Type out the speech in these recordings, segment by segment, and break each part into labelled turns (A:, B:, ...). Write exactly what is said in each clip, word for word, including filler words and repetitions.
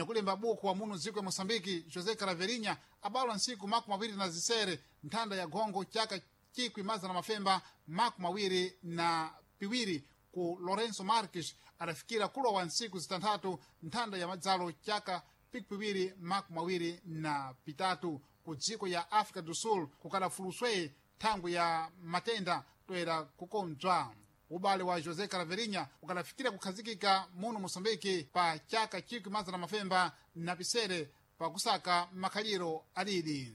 A: Nyakulemba buku wa munu dziko ya Moçambique José Caraverinha abalwa ntsiku makumi awiri na zisere nthanda ya gongo chaka chikwi mazana mafemba makumi awiri na piwiri ku Lourenço Marques adafikira kulowa ntsiku zitanthatu nthanda ya madzalo chaka pikipiwiri makumi awiri na pitatu ku dziko ya África do Sul kukadafuluswe thangwi ya matenda toera kukonzwa. Ubale wa José Caraverinha ukadafikira kukhazikika muno Moçambique pa chaka chikwi mazana mafemba na pisere pakusaka makhaliro adidi.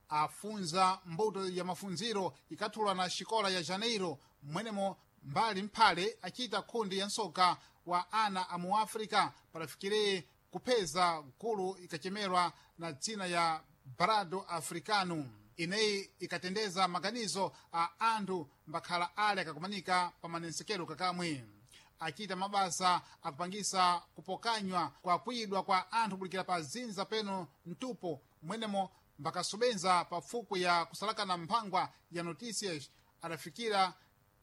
A: Afunza mbuto ya mafunziro ikathulwa na xikola ya Janeiro mwenemo mbali mphale achita khundi ya nsoka wa ana a mu África padafikire kupeza gulu ikachemerwa na dzina ya Brado Africano ineyi ikatendeza maganizo a anthu mbakhala ale akakumanika pa manensekelo kakamwe. Achita mabasa akupangisa kupokanywa kwa kuyidwa kwa anthu kulikira pa zinza peno mtupo mwenemo mbakasobenza pa fuku ya kusalakana mphangwa ya Noticias adafikira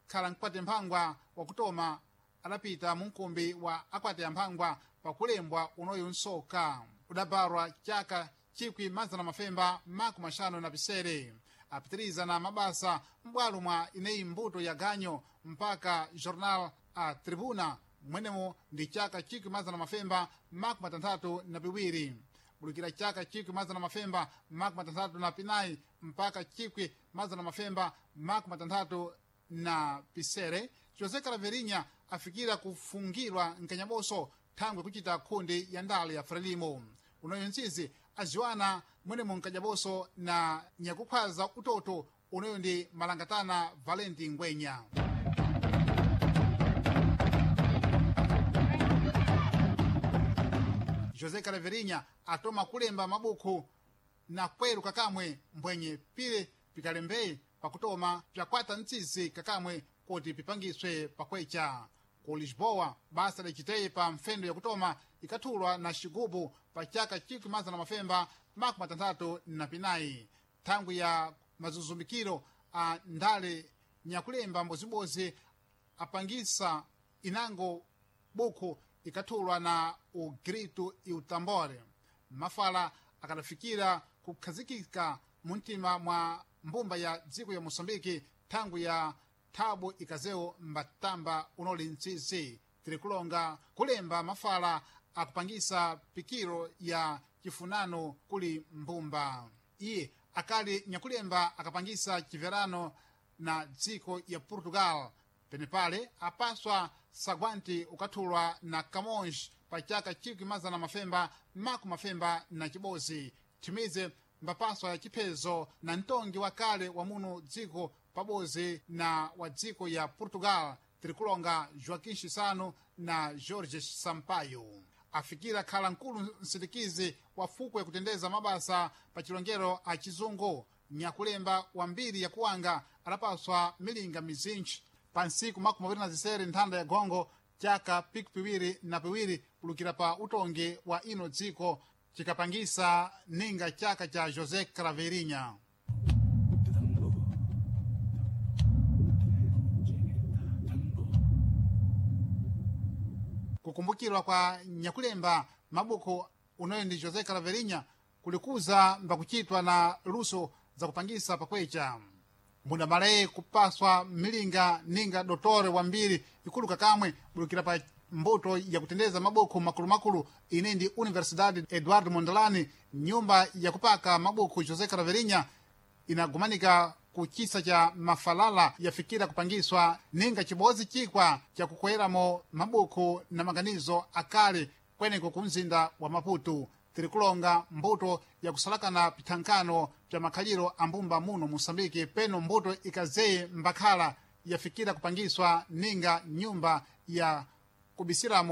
A: khala mkwate mphangwa wakutoma adapita munkumbi wa akwate ya mphangwa pakulembwa unoyu nsoka udabarwa chaka chikwi mazana mafemba makumi axanu na pisere apitiriza na mabasa m'bwalo mwa ineyi mbuto ya ganyo mpaka Jornal a Tribuna mwenemo ndi chaka chikwi mazana mafemba makumi atanthatu na piwiri bulukira chaka chikwi mazana mafemba makumi atanthatu na pinayi mpaka chikwi mazana mafemba makumi atanthatu na pisere José Caraverinha afikira kufungirwa mkanyaboso thangwe kuchita khundi ya ndale ya Frelimo unoyo ntsizi aziwana mwenemo mkanyaboso na nyakukhwaza utoto unoyo ndi malangatana Valenti Ngwenya. José Caraverinha atoma kulemba mabukhu na kweru kakamwe mbwenye pile pikalembeye pakutoma pyakwata ntsizi kakamwe kuti pipangiswe pakwecha. Ku Lisboa basa liciteye pa mfendo yakutoma ikathulwa na xigubu pa chaka chikwi mazana mafemba makumi atanthatu na pinayi thangwi ya mazuzumikiro a ndale nyakulemba mbozibozi apangisa inango bukhu ikathulwa na ugrito e utambore mafala akadafikira kukhazikika muntima mwa mbumba ya dziko ya Moçambique thangwi ya thabu ikazewo mbatamba unoli ntsizi tiri kulonga kulemba mafala akupangisa pikiro ya chifunano kuli mbumba. Iye akali nyakulemba akapangisa chiverano na dziko ya Portugal penepale apaswa sagwanti ukathulwa na Camões pa chaka chikwi mazana mafemba makumi mafemba na chibozi thimize mbapaswa ya chiphezo na mtongi wakale wa muno dziko pabozi na wa dziko ya Portugal tirikulonga Joaquim Chissano na Jorge Sampaio. Afikira khala mkulu msindikizi wa fuko yakutendeza mabasa pa chilongero a chizungu nyakulemba wambiri yakuwanga adapaswa milinga mizinji pa ntsiku makumi awiri na zisere nthanda ya gongo chaka piku piwiri na piwiri kulukira pa utongi wa ino dziko chikapangisa ninga chaka cha José Craveirinha. Kukumbukirwa kwa nyakulemba mabuku unoyo ndi José Craveirinha kulikuza mbakuchitwa na luso za kupangisa pakwecha mbudamalaye kupaswa milinga ninga dotore wambiri ikulu kakamwe bulukira pa mbuto yakutendeza mabuku makulumakulu ine ndi Universidade Eduardo Mondlane nyumba yakupaka mabuku José Craveirinha inagumanika ku chisa cha mafalala yafikira kupangiswa ninga chibozi chikwa chakukweramo mabuku na maganizo akale kweneko ku mzinda wa Maputo. Tiri kulonga mbuto yakusalakana pithankano pya makhaliro a mbumba muno Moçambique peno mbuto ikazeye mbakhala yafikira kupangiswa ninga nyumba ya kubisiramo.